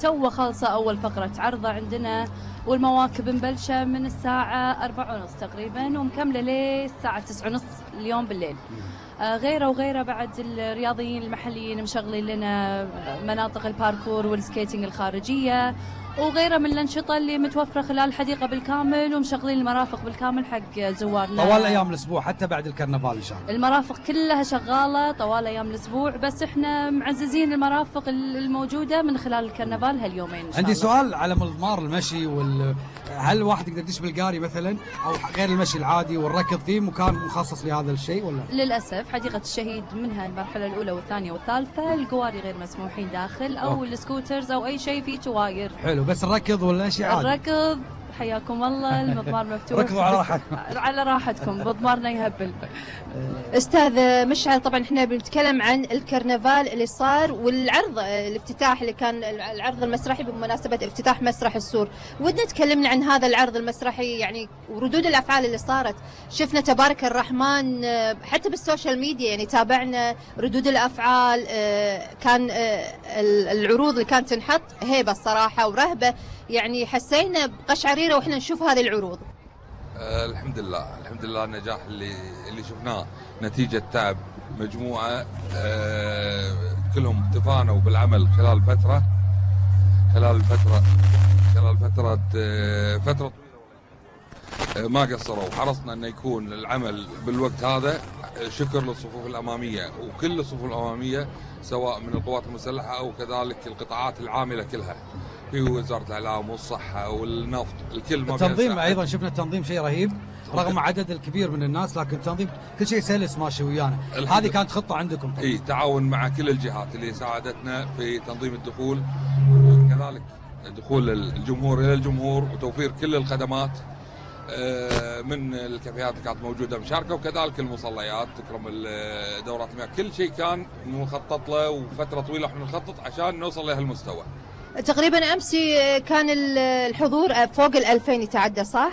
تو خالصة أول فقرة عرضة عندنا، والمواكب مبلشة من الساعة 4:30 تقريبا ومكملة للساعة 9:30 اليوم بالليل. غيره وغيره بعد الرياضيين المحليين مشغلين لنا مناطق الباركور والسكيتنج الخارجية، وغيره من الأنشطة اللي متوفرة خلال الحديقة بالكامل، ومشغلين المرافق بالكامل حق زوارنا طوال أيام الأسبوع حتى بعد الكرنفال إن شاء الله. المرافق كلها شغالة طوال أيام الأسبوع، بس إحنا معززين المرافق الموجودة من خلال الكرنفال هاليومين إن شاء الله. عندي سؤال على مضمار المشي هل الواحد يقدر يدش بالقاري مثلا أو غير المشي العادي والركض فيه مكان مخصص لهذا الشيء ولا؟ للأسف حديقة الشهيد منها المرحلة الأولى والثانية والثالثة القواري غير مسموحين داخل أو السكوترز أو أي شيء فيه تواير. حلو، بس الركض ولا شيء عادي؟ الركض حياكم الله المضمار مفتوح. ركضوا على راحتكم. على راحتكم، مضمارنا يهبل. أستاذ مشعل، طبعا احنا بنتكلم عن الكرنفال اللي صار والعرض الافتتاح اللي كان العرض المسرحي بمناسبة افتتاح مسرح السور. ودنا تكلمنا عن هذا العرض المسرحي يعني وردود الأفعال اللي صارت. شفنا تبارك الرحمن حتى بالسوشيال ميديا يعني تابعنا ردود الأفعال. كان العروض اللي كانت تنحط هيبة الصراحة ورهبة، يعني حسينا بقشعريرة واحنا نشوف هذه العروض. الحمد لله النجاح اللي شفناه نتيجة تعب مجموعة كلهم تفانوا بالعمل خلال فترة طويلة ما قصروا، وحرصنا أن يكون العمل بالوقت هذا. شكر للصفوف الأمامية وكل الصفوف الأمامية سواء من القوات المسلحة أو كذلك القطاعات العاملة كلها في وزارة الإعلام والصحة والنفط الكل. التنظيم أيضا شفنا التنظيم شيء رهيب رغم عدد الكبير من الناس، لكن التنظيم كل شيء سلس ماشي ويانا. هذه كانت خطة عندكم طبعا. تعاون مع كل الجهات اللي ساعدتنا في تنظيم الدخول وكذلك دخول الجمهور إلى الجمهور وتوفير كل الخدمات من الكافيهات اللي كانت موجودة مشاركة وكذلك المصليات تكرم دورات المياه. كل شيء كان مخطط له وفترة طويلة احنا نخطط عشان نوصل لهالمستوى. تقريبا أمس كان الحضور فوق 2000 يتعدى صح؟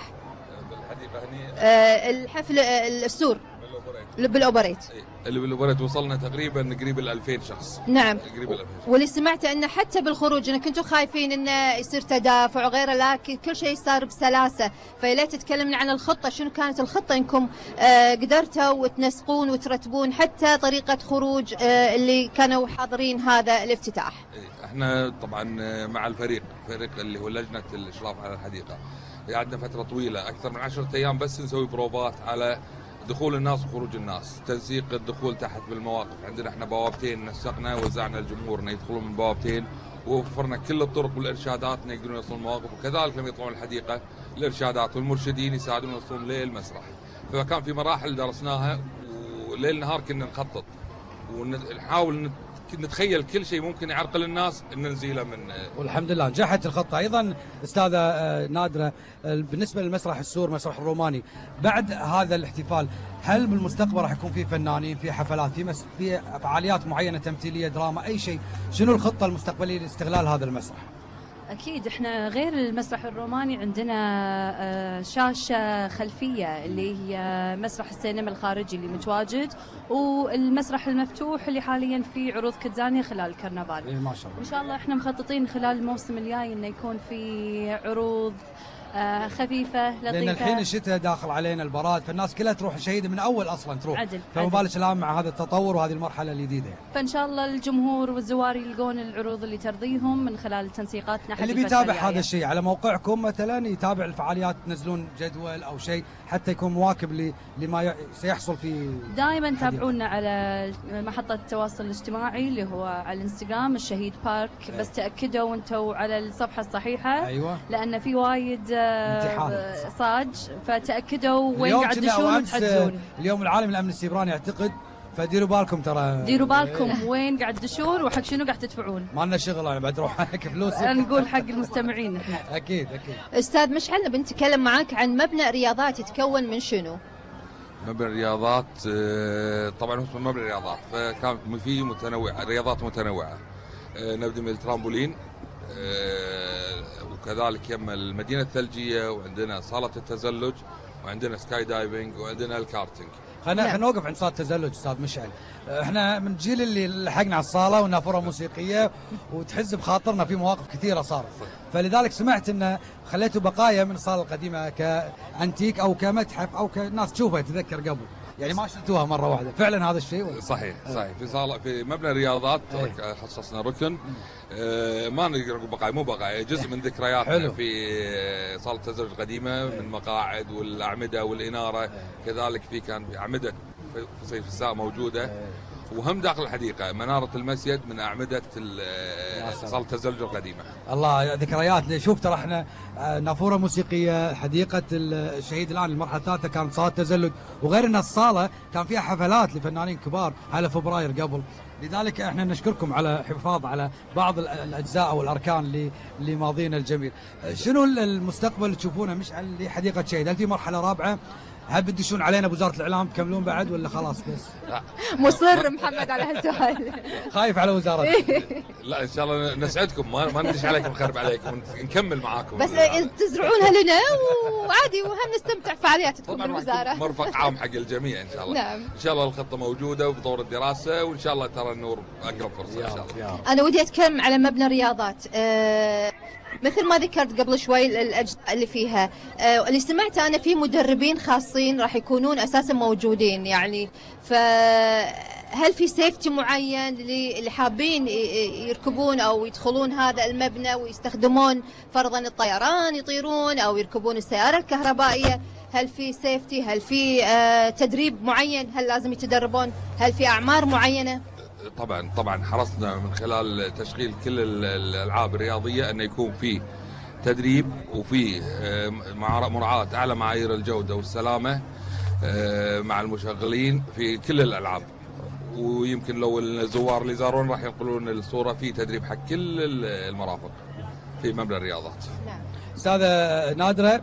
بالحديقة هني الحفل السور بالأوبريت اللي بالأوبريت وصلنا تقريبا قريب 2000 شخص. نعم. قريب 2000 شخص. واللي سمعته أنه حتى بالخروج أنه كنتوا خايفين أنه يصير تدافع وغيره، لكن كل شيء صار بسلاسة. فليت تتكلمنا عن الخطة، شنو كانت الخطة إنكم قدرتوا وتنسقون وترتبون حتى طريقة خروج اللي كانوا حاضرين هذا الافتتاح؟ احنا طبعا مع الفريق اللي هو لجنة الإشراف على الحديقة قعدنا فترة طويلة أكثر من 10 أيام بس نسوي بروفات على دخول الناس وخروج الناس، تنسيق الدخول تحت بالمواقف. عندنا احنا بوابتين نسقنا وزعنا الجمهور انه يدخلون من بوابتين، ووفرنا كل الطرق والارشادات انه يقدرون يوصلون المواقف، وكذلك لما يطلعون الحديقه الارشادات والمرشدين يساعدون يوصلون للمسرح. فكان في مراحل درسناها وليل نهار كنا نخطط ونحاول نتخيل كل شيء ممكن يعرقل الناس ان نزيله من. والحمد لله نجحت الخطه. ايضا استاذه نادره، بالنسبه للمسرح السور مسرح الروماني بعد هذا الاحتفال هل بالمستقبل راح يكون في فنانين في حفلات في فعاليات معينه تمثيليه دراما اي شيء؟ شنو الخطه المستقبليه لاستغلال هذا المسرح؟ أكيد إحنا غير المسرح الروماني عندنا شاشة خلفية اللي هي مسرح السينما الخارجي اللي متواجد، والمسرح المفتوح اللي حاليا في عروض كتزانية خلال الكرنفال. ما شاء الله. إن شاء الله إحنا مخططين خلال الموسم الجاي إنه يكون في عروض خفيفة لطيفة، لأن الحين الشتاء داخل علينا البراد، فالناس كلها تروح الشهيدة من أول أصلا تروح عدل. فمبالغ الآن مع هذا التطور وهذه المرحلة الجديدة يعني. فإن شاء الله الجمهور والزوار يلقون العروض اللي ترضيهم من خلال تنسيقاتنا. اللي بيتابع هذا الشيء على موقعكم مثلا يتابع الفعاليات، تنزلون جدول أو شيء حتى يكون مواكب لما سيحصل في. دائما تابعونا على محطة التواصل الاجتماعي اللي هو على الانستغرام الشهيد بارك. بس تأكدوا وانتوا على الصفحة الصحيحة. أيوة. لأن في وايد صاج، فتأكدوا وين قاعد تدشون وتحجزون. اليوم العالمي للأمن السيبراني اعتقد، فديروا بالكم ترى. ديروا بالكم وين قاعد تدشون وحق شنو قاعد تدفعون. ما لنا شغل انا بعد اروح هيك فلوس. نقول حق المستمعين احنا. اكيد. استاذ مشعل بنتكلم معاك عن مبنى رياضات يتكون من شنو؟ مبنى الرياضات طبعا اسمه مبنى الرياضات، فكانت فيه متنوعه رياضات متنوعه. نبدا من الترامبولين وكذلك يم المدينه الثلجيه، وعندنا صاله التزلج، وعندنا سكاي دايفنج، وعندنا الكارتينج. خلينا نوقف عند صالة التزلج استاذ مشعل. احنا من الجيل اللي لحقنا على الصاله والنافوره موسيقيه وتحز بخاطرنا في مواقف كثيره صارت، فلذلك سمعت ان خليتوا بقايا من الصاله القديمه كانتيك او كمتحف او كناس تشوفها تذكر قبل، يعني ما شلتوها مره واحده، فعلا هذا الشيء ولا؟ صحيح في صاله في مبنى الرياضات خصصنا ركن ما نقدر نقول بقايا، مو بقايا، جزء من ذكرياتنا في صاله التزلج القديمه من مقاعد والاعمده والاناره، كذلك كان في اعمده في صيف الساعه موجوده، وهم داخل الحديقه مناره المسجد من اعمده صاله التزلج القديمه. الله ذكريات. شوف ترى احنا نافوره موسيقيه، حديقه الشهيد الان المرحله الثالثه كانت صاله تزلج، وغير ان الصاله كان فيها حفلات لفنانين كبار على فبراير قبل، لذلك احنا نشكركم على حفاظ على بعض الاجزاء او الاركان لماضينا الجميل. شنو المستقبل اللي تشوفونه مشعل لحديقه شهيد؟ هل في مرحله رابعه؟ هل بتدشون علينا بوزاره الاعلام تكملون بعد ولا خلاص بس؟ لا مصر محمد على هالسؤال. خايف على وزاره. لا ان شاء الله نسعدكم، ما ندش عليكم نخرب عليكم، نكمل معاكم بس تزرعونها لنا وعادي وهم نستمتع فعاليات تكون بالوزاره. مرفق عام حق الجميع ان شاء الله. نعم. ان شاء الله الخطه موجوده وبطور الدراسه، وان شاء الله ترى النور اقرب فرصه ان شاء الله. انا ودي اتكلم على مبنى الرياضات. مثل ما ذكرت قبل شوي الاجزاء اللي فيها، اللي سمعت انا في مدربين خاصين راح يكونون اساسا موجودين، يعني فهل في سيفتي معين اللي حابين يركبون او يدخلون هذا المبنى ويستخدمون فرضا الطيران يطيرون او يركبون السياره الكهربائيه؟ هل في سيفتي؟ هل في تدريب معين؟ هل لازم يتدربون؟ هل في اعمار معينه؟ طبعا حرصنا من خلال تشغيل كل الالعاب الرياضيه انه يكون في تدريب وفي مراعاه اعلى معايير الجوده والسلامه مع المشغلين في كل الالعاب، ويمكن لو الزوار اللي زارون راح ينقلون الصوره في تدريب حق كل المرافق في مبنى الرياضات. نعم. استاذه نادره،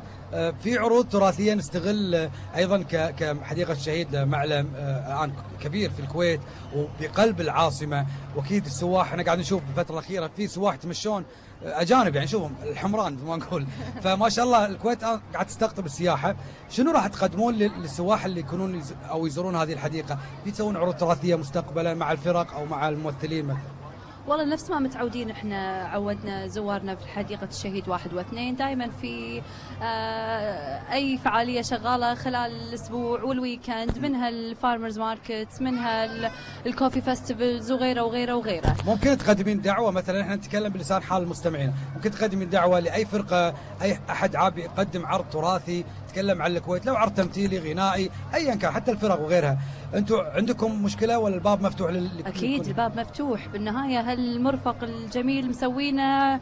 في عروض تراثيه نستغل ايضا كحديقه الشهيد معلم الان كبير في الكويت وبقلب العاصمه، واكيد السواح احنا قاعد نشوف بالفتره الاخيره في سواح يتمشون اجانب، يعني نشوفهم الحمران زي ما نقول، فما شاء الله الكويت قاعد تستقطب السياحه. شنو راح تقدمون للسواح اللي يكونون او يزورون هذه الحديقه؟ في تسوون عروض تراثيه مستقبلا مع الفرق او مع الممثلين مثلا؟ والله نفس ما متعودين، احنا عودنا زوارنا في حديقة الشهيد 1 و2 دائما في اي فعالية شغالة خلال الاسبوع والويكند، منها الفارمرز ماركت، منها الكوفي فيستيفالز وغيره وغيره وغيره. ممكن تقدمين دعوة مثلا، احنا نتكلم بلسان حال المستمعين، ممكن تقدمين دعوة لاي فرقة، اي احد عاب يقدم عرض تراثي يتكلم عن الكويت، لو عرض تمثيلي غنائي ايا كان، حتى الفرق وغيرها. انتم عندكم مشكلة ولا الباب مفتوح اكيد الباب مفتوح، بالنهاية هالمرفق الجميل مسوينا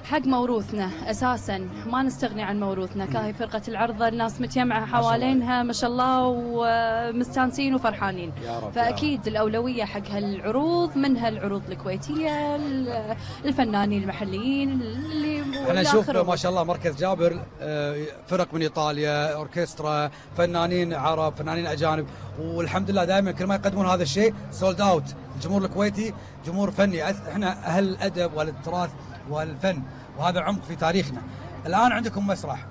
حق موروثنا اساسا، ما نستغني عن موروثنا. كاهي فرقه العرضه الناس متجمعه حوالينها ما شاء الله ومستانسين وفرحانين، فاكيد الاولويه حق هالعروض، منها العروض الكويتيه، الفنانين المحليين اللي احنا نشوف ما شاء الله مركز جابر فرق من ايطاليا، اوركسترا، فنانين عرب، فنانين اجانب، والحمد لله دائما كل ما يقدمون هذا الشيء سولد اوت. الجمهور الكويتي جمهور فني، احنا اهل الادب والتراث والفن، وهذا عمق في تاريخنا. الآن عندكم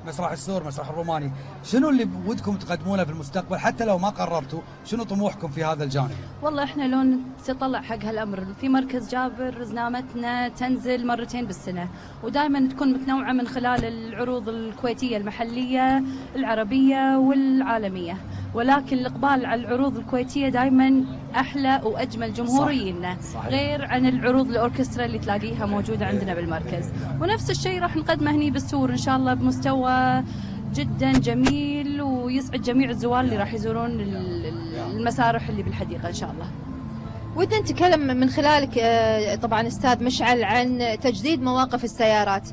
مسرح السور، مسرح الروماني، شنو اللي ودكم تقدمونه في المستقبل حتى لو ما قررتوا؟ شنو طموحكم في هذا الجانب؟ والله احنا لو نتطلع حق هالامر، في مركز جابر زنامتنا تنزل مرتين بالسنه، ودائما تكون متنوعه من خلال العروض الكويتيه المحليه العربيه والعالميه، ولكن الاقبال على العروض الكويتيه دائما احلى واجمل جمهورينا، غير عن العروض الاوركسترا اللي تلاقيها موجوده عندنا بالمركز. ونفس الشيء راح نقدمه هني بالسور ان شاء الله بمستوى جدا جميل ويسعد جميع الزوار اللي راح يزورون المسارح اللي بالحديقه ان شاء الله. ودنا نتكلم من خلالك طبعا استاذ مشعل عن تجديد مواقف السيارات.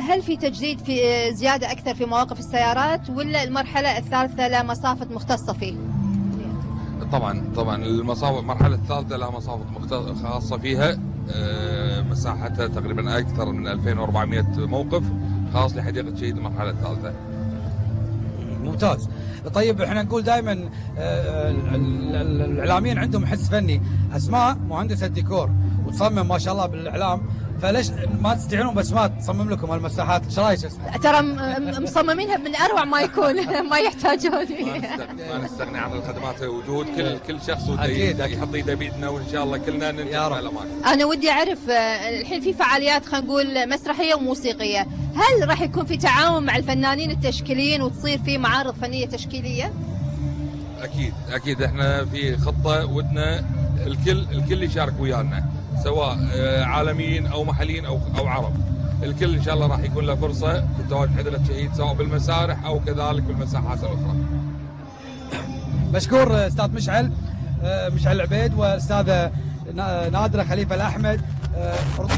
هل في تجديد، في زياده اكثر في مواقف السيارات، ولا المرحله الثالثه لها مصافة مختصه فيه؟ طبعا المرحله الثالثه لها مصافة خاصه فيها، مساحتها تقريبا اكثر من 2400 موقف خاص لحديقه شهيد المرحله الثالثه. ممتاز. طيب احنا نقول دائما الاعلاميين عندهم حس فني، اسماء مهندسه ديكور وتصمم ما شاء الله بالاعلام، فليش ما تستعينون باسماء تصمم لكم هالمساحات؟ ايش رايك استاذ؟ ترى مصممينها من اروع ما يكون ما يحتاجون. ما نستغني عن الخدمات وجود كل شخص أكيد. يحط ايده بيدنا، وان شاء الله كلنا ننتهي يا رب. الاماكن. انا ودي اعرف الحين في فعاليات خلينا نقول مسرحيه وموسيقيه، هل راح يكون في تعاون مع الفنانين التشكيليين وتصير في معارض فنيه تشكيليه؟ اكيد احنا في خطه ودنا الكل يشارك ويانا، سواء عالميين او محليين او عرب. الكل ان شاء الله راح يكون له فرصه في التواجد حضره الشهيد، سواء بالمسارح او كذلك بالمساحات الاخرى. مشكور استاذ مشعل العبيد واستاذه نادره خليفه الاحمد.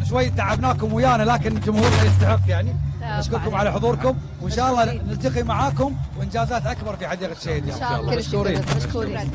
شوي تعبناكم ويانا لكن جمهورنا يستحق يعني. نشكركم على حضوركم وان شاء الله نلتقي معاكم وانجازات اكبر في حديقه الشهيد. ان شاء الله. مشكورين. مشكورين.